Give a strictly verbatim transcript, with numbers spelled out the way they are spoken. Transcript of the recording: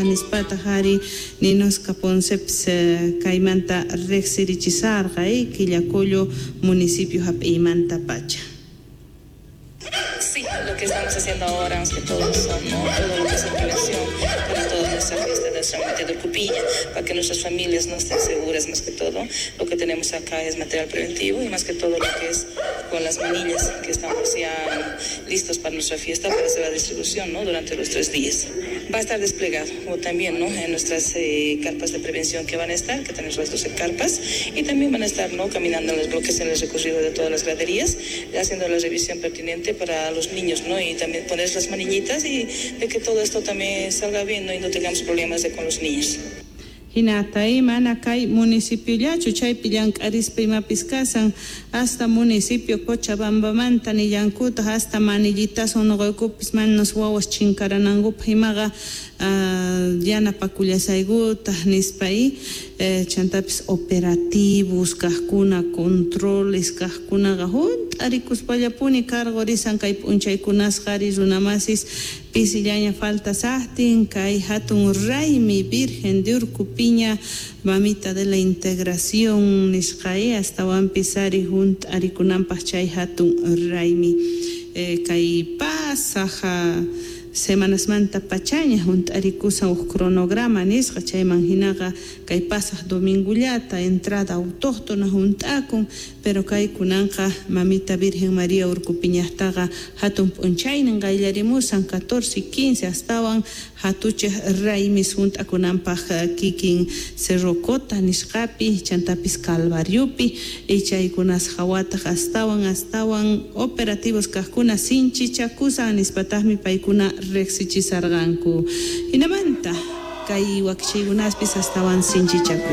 Nispataq ari Ninoska Poncepis kaymanta riqsirichisarqa Quillacollo municipio hap'iymanta pacha. Sí, lo que estamos haciendo ahora, más que todo, son, ¿no?, todo lo que es prevención para toda nuestra fiesta de nuestra muerte de Urcupiña, para que nuestras familias no estén seguras, más que todo. Lo que tenemos acá es material preventivo y más que todo lo que es con las manillas, que estamos ya listos para nuestra fiesta, para hacer la distribución, ¿no?, durante los tres días. Va a estar desplegado, como también, ¿no?, en nuestras eh, carpas de prevención que van a estar, que tenemos las doce carpas, y también van a estar, ¿no?, caminando en los bloques, en el recorrido de todas las graderías, haciendo la revisión pertinente para los niños, ¿no?, y también poner las manillitas y de que todo esto también salga bien, ¿no?, y no tengamos problemas de con los niños. Hinata mana kay municipiollachu chaypi llank'arispa imapis kasan hasta municipio Cochabambamanta nillankutaq hasta manillitasun nuqaykupis manas wawas chinkaranankupaq imaqa yanapakullasaykutaq nispa y chantapis operativos kaqkuna controles kaqkunaqa hunt'arikuspallapuni cargo risan kay p'unchaykunasqa ari runamasis pisillaña falta saqtin kay hatun raymi Virgen de Urcupiña mamita de la integración nisqa astawanpis ari hunt'arikunanpaq chay hatun raymi kay pasaq semanasmanta pachaña hunt'arikusan huk cronograma nisqa chayman hinaqa kay pasaq domingullata entrada autóctona hunt'akun pero kay kunanqa mamita Virgen María Urcupiñaqtaqa hatun p'unchaynin qayllarimusan catorce y quince astawan hatuchaq raymis hunt'akunanpaq kikin Cerro Cota nisqapi chantapis Calvariopi y chaykunas hawataq astawan astawan operativos kaqkuna sinchichakusan nispataqmi paykuna riqsichisarqanku hinamanta kay wakichiykunaspis astawan sinchichaku.